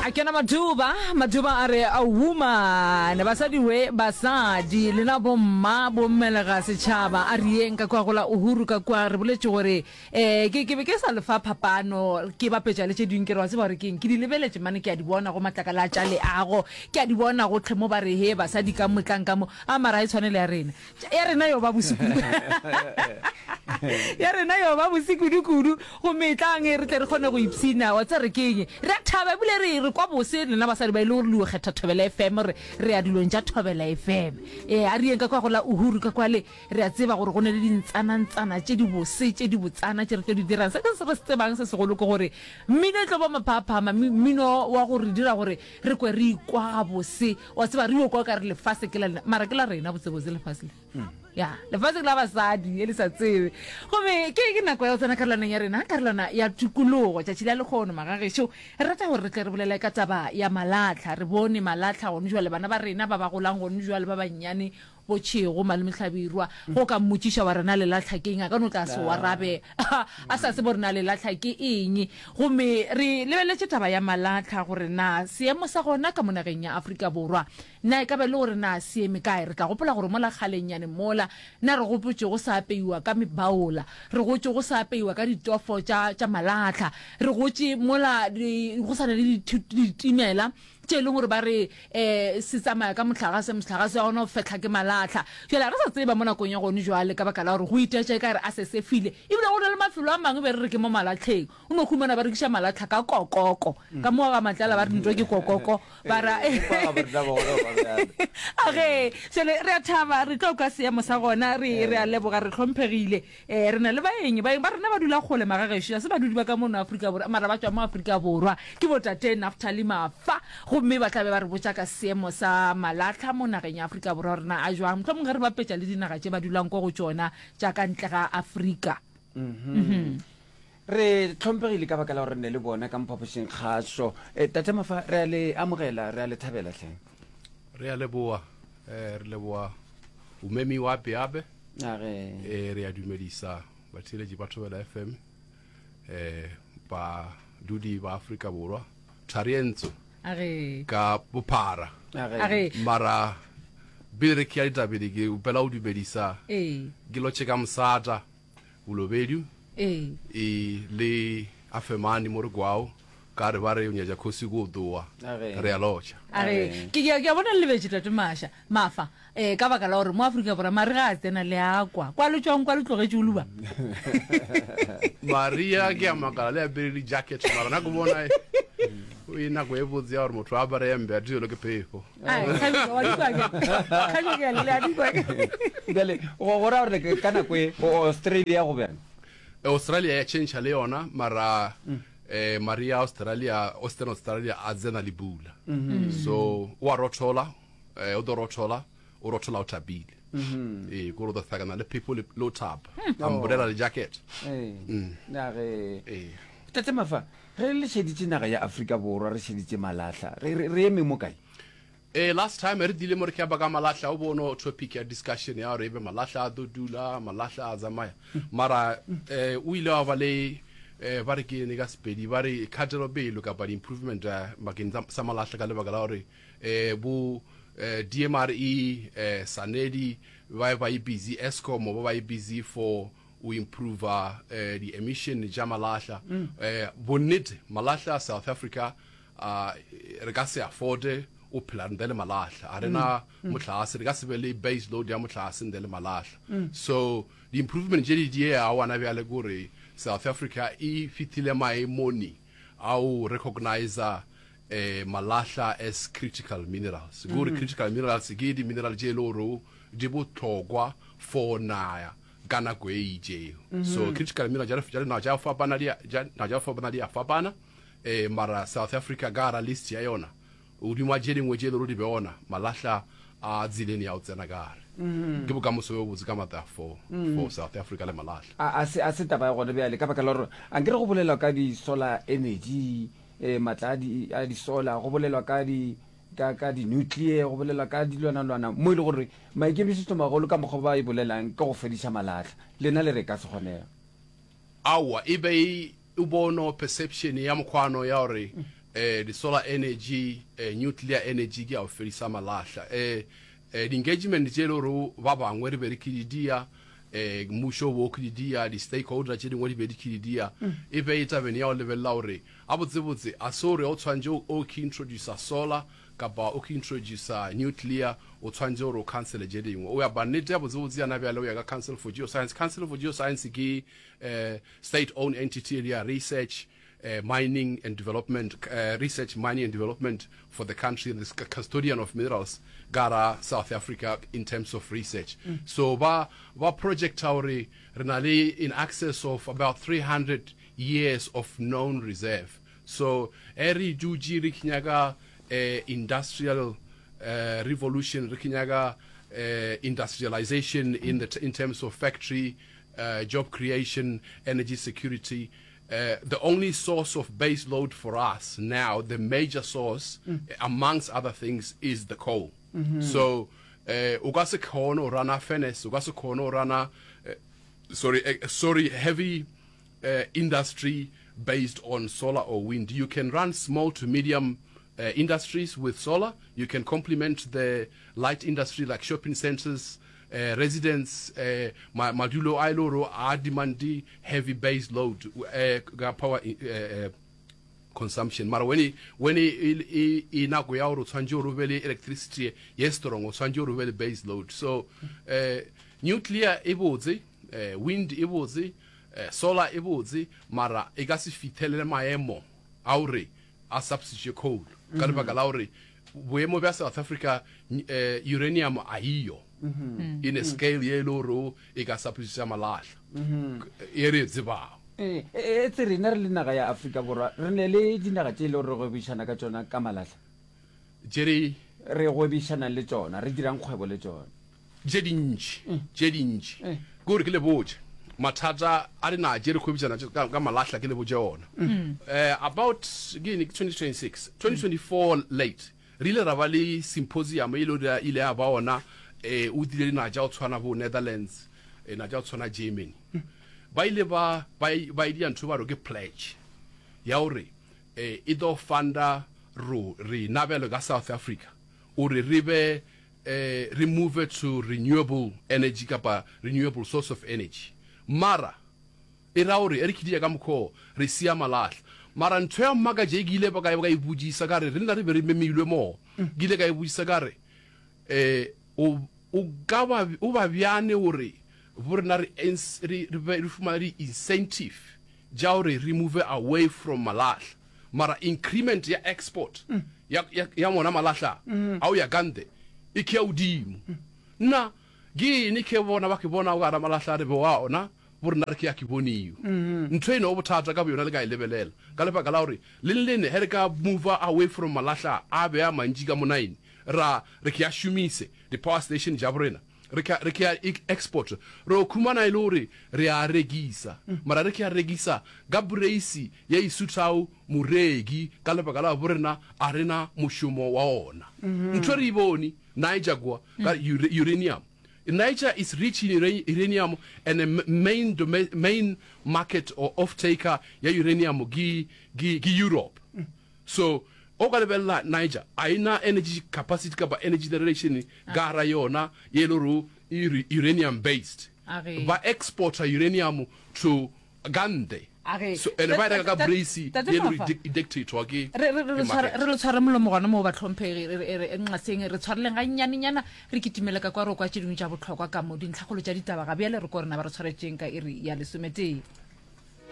A kena Maduba, Maduba a re, A woman, basadi we, basadi, lena bomma, bommelega setšhaba, a re yeng ka kua go la Uhuru ka kua, re boletše gore, eh, ke, ke be ke sa le fa phapano, ke bapetša le tše dingwe, ke re, wa tseba gore keng, ke di lebeletše mane, ke a di bona go matlakala a tša leago, ke a di bona gohle mo ba re, he, basadi ka mo, tlang ka mo, a mara ga e tshwane le ya rena. Ya rena yo ba bose kudu. Ya rena yo ba bose kudu-kudu. Gomme etlang re tle re kgone go ipshina. Wa tseba re keng? Re a thaba ebile re re kwa bose lena basadi ba e le gore le yo kgetha Thobela FM re re ya dilong tša Thobela FM. Ee, a re yeng ka kwa go la Uhuru ka kwale re a tseba gore go ne le dintsanantsana tše di bose tše di botsana tše re tlo di dirang. Se se re se tsebang se segolo ke gore mmino e tlo ba maphaphama, mmino wa go re dira gore re kwe re ikwa gabose. Wa tseba, re yo kwa o ka re lefase ke la lena, mara ke la rena botsebotse lefase le. Ya, lefase ke la basadi, e le sa tsebe. Gomme ke, ke nako ya go tsena karolwaneng ya rena, karolwana ya tikologo, tšatši la lekgono, magagešo. Re rata gore re tle re bolele ka taba ya malahla. Re bone malahla gone jwale, bana ba rena ba ba golang gone jwale, ba bannyane, bo Tšhego, Malome Hlabirwa, ge o ka mmotšiša wa re na lelatlha ke eng, a ka no tla a se o arabe a sa tsebe gore na lelatlha ke eng. Gomme re lebeletše taba ya malatlha gore na seemo sa gona ka mo nageng ya Afrika Borwa na e ka ba e le gore na se eme kae. Re tla gopola gore mola kgalennyane mola na re gopotše go sa apeiwa ka mebaola, re gotše go sa apeiwa ka ditofo tša, tša malatlha, re gotše mola go sa na le ditimela tše e leng gore ba re um se tsamaya ka mohlagase, mohlagase wa gona o fehla ke malahla. Bjale ga re sa tseba mo nakong ya gone jwale ka baka la gore go itaetša e ka re a se sefile. Ebile go na le mafelo a mangwe be re re ke mo malahleng, o no humana ba rekiša malahla ka kokoko. Ka mo ga Matlala ba re ntwa ke kokoko, ba ra Age, jwale re a thaba, re tlo kwa seemo sa gona, re re a leboga, re hlomphegile. Ee, re na le baeng. Baeng ba rena ba dula kgole magagešo, ga se badudi ba ka mono Afrika Borwa, mara ba tšwa mo Afrika Borwa. Ke botate Naftali Mafa, gomme ba tla be ba re botša ka seemo sa malahla mo nageng ya Afrika Borwa gore na a jwang, mohlomongwe ge re bapetša le dinaga tše ba dulang ko go tšona tša ka ntle ga Afrika. Re hlomphegile ka baka la gore re ne le bona ka mo phapošing kgašo. Tate Mafa, re a le amogela, re a le thabela hle. Re a leboa, re leboa bomemiwa Beabe. Age. Re a dumedisa batheeletši ba Thobela FM, badudi ba Afrika Borwa, Tharientso Age. ka bophara. Age. Mara pele re kea ditabele ke opela go dumedisa ke lotšhe ka mosata Bolobedu Ee. E le Afemani mo re kwago ka re ba re o nyatša kgosi ko ṱoa. Re a lotšha. A re, Ke, ke a bona le lebetše Tate Masha, Mafa, eh, ka baka la gore mo Afrika Borwa mare ga a tsena le a kwa. Kwa le tšwang kwa le tlogetše o luba. Maria ke a makala le apere di jacket mara na ke bona e nako e botse ya gore motho a apare hembe a thibelwe ke phefo. Ai, Kgabišo, wa di kwa ke? Kgabišo ke a le a di kwa ke? Bjale, go go ra gore ka nako e Australia go bjang? Australia ya change le yona mara eh Maria Australia Western Australia a tsena le pula. So o a rothola eh o do rothola o rothola o thabile. Ee ko ro thakana le phefo le lo thaba. Umbrella le jacket. Ee. Na ge. Ee. Tate Mafa, Ge le šeditše naga ya Afrika Borwa, re šeditše malahla, re, re, re eme mo kae? Ee, last time re dile mo re keba ka malahla, o bono topic ya discussion ya gore ebe malahla a tlo dula, malahla a tsamaya. Mara eh, o ile wa ba le eh, ba re ke ene ka Sepedi, ba re kgatelopele kapa di-improvement eh, bakeng sa malahla ka lebaka la gore eh, bo eh, DMRE, eh, Sanedi ba ba e busy, Eskom ba ba e busy for o improver eh, di emission tša malahla mm. eh, bonnete malahla a South Africa uh, re ka se afforde o phela ntle le malahla a rena mm. mm. mohlagase re ka se be le base load ya mohlagase ntle le malahla mm. so di-improvement tše di die a wana bjale kore South Africa e fithile maemoni a o recognizer eh, malahla as critical minerals kore mm. critical minerals ke di-mineral tše e le gore di bohlokwa for naya ka nako e itšego. So critical mineral tša dinaga tša go fapana di tša dinaga tša go fapana di a fapana eh, mara South Africa ka gara list ya yona godimo ga tše dingwe tše e le gore di be gona malahla a tseleng ya go tsena ka gare. Ke bokamoso bjo botse ka matla for for South Africa le malahla. A, a se, a se taba ya gona bjale, ka baka la gore ankere go bolelwa ka di-solar energy, eh, matla a di, a di-solar, go bolelwa ka di, ka, ka di-nuclear, go bolelwa ka dilwanalwana, mo e le gore maikemišetšomagolo ka mokgwa ba e bolelang ke go fediša malahla. Lena le re e ka se kgonege. Aowa, e be e, o bono perception ya mokgwano ya gore Eh, di-solar energy, eh, nuclear energy ke ya go fedisa malahla. Eh, eh, di-engagement tše e le gore ba bangwe re be re ke di dia, eh, mmušo o be o ke di dia, di-stakeholder tše dingwe di be di ke di dia, e be e tabeng ya go lebelela gore gabotsebotse a se gore o tshwanetše o ke introducer solar kapa o ke introducer nuclear o tshwanetše gore o cancele tše dingwe. O ya ba nnete ya botsebotse yana bjale o ya ka Council for Geoscience. Council for Geoscience ke eh, state owned entity e le ya research, uh, mining and development uh, research mining and development for the country and the custodian of minerals gara South Africa in terms of research mm. so ba ba project gore re na le in excess of about 300 years of known reserve so e re dutše re nyaka uh, industrial uh, revolution re nyaka uh, industrialization in the in terms of factory uh, job creation energy security Uh, the only source of base load for us now, the major source, mm. amongst other things, is the coal. Mm -hmm. So, uh, o ka se kgone go rana furnace, o ka se kgone go rana, uh, sorry, uh, sorry, heavy uh, industry based on solar or wind. You can run small to medium uh, industries with solar. You can complement the light industry like shopping centers, uh, residents, uh, madulo a e le gore a demande heavy base load uh, ka power uh, uh, consumption mara when e, when e, e, e nako ya gore o tshwanetse gore o be le electricity ye strong o tshwanetse gore o be le base load so uh, nuclear e botse uh, wind e botse uh, solar e botse mara e ka se fithelele maemo a gore a substitute coal ka lebaka la gore boemo bja South Africa eh, uranium a iyo in a scale ye e le gore e ka substitute malahla e re e tsebago. Ee, e, e tse rena re le naga ya Afrika Borwa re ne le dinaga tše e le gore re gwebišana ka tšona ka malahla. Tše re Re gwebišanang le tšona, re dirang kgwebo le tšona. Tše dintši, tše dintši. Ke gore ke le botše, mathata a dinaga tše re kgwebišana ka, ka malahla ke le botše ona. Eh, about, ke eng, ke 2026, 2024 late, re ile ra ba le symposium e le gore ile ya ba ona, eh, o tlile dinaga tša go tshwana bo Netherlands, eh, naga tša go tshwana Germany. Ba ile ba, ba, ba e dira ntho ba re ke pledge ya gore eh, e tlo funda ro, rena bjalo ka South Africa, gore re be eh, re move to renewable energy kapa renewable source of energy. Mara e ra gore e re khidia ka mokgwa re sia malahla. Mara ntho ya mmakatša e ke ile ka ka e botšisa ka re re nna re be re memilwe moo. Ke ile ka e botšisa ka re eh o o ka ba o ba bjane gore bo rena re re re fumana di incentive tša gore re move away from malahla. Mara increment ya export ya, ya, ya mona malahla a o ya ka ntle e khea godimo. Nna ke eng ke bona ba ke bona o ka ra malahla re be wa ona bo rena re ke ya ke boniwe. Ntho eno bothata ka boyona le ka e lebelela ka lebaka la gore leng lene he re ka move away from malahla a be a mantši ka monaene ra re ke ya šomise di power station ja borena Re ka, re ke ya e export, re o khumana e le gore re a rekisa, mara re ke ya rekisa ka poreisi ye e suthago moreki ka lebaka la bo rena a re na mošomo wa ona. Ntho e re e bone Niger kwa ka uranium. Niger is rich in uranium and the main, main market or off taker ya uranium ke, ke, ke Europe. So o ka lebelela Niger a e na energy capacity kapa energy generation ka gara yona ye e le gore e uranium based. Ba exporta uranium to ka ntle. So and ba e reka ka brace ye e le gore e dictatwa ke Re re re tshware re le tshware molomo gona moo bahlomphegi re re nqaseng re tshwareleng ga nnyanenyana re kitimele ka kwa re kwa tše dingwe tša bohlokwa ka mo dintlhakgolo tša ditaba ga bjale re ko rena ba re tshwaretšeng ka iri ya lesometee.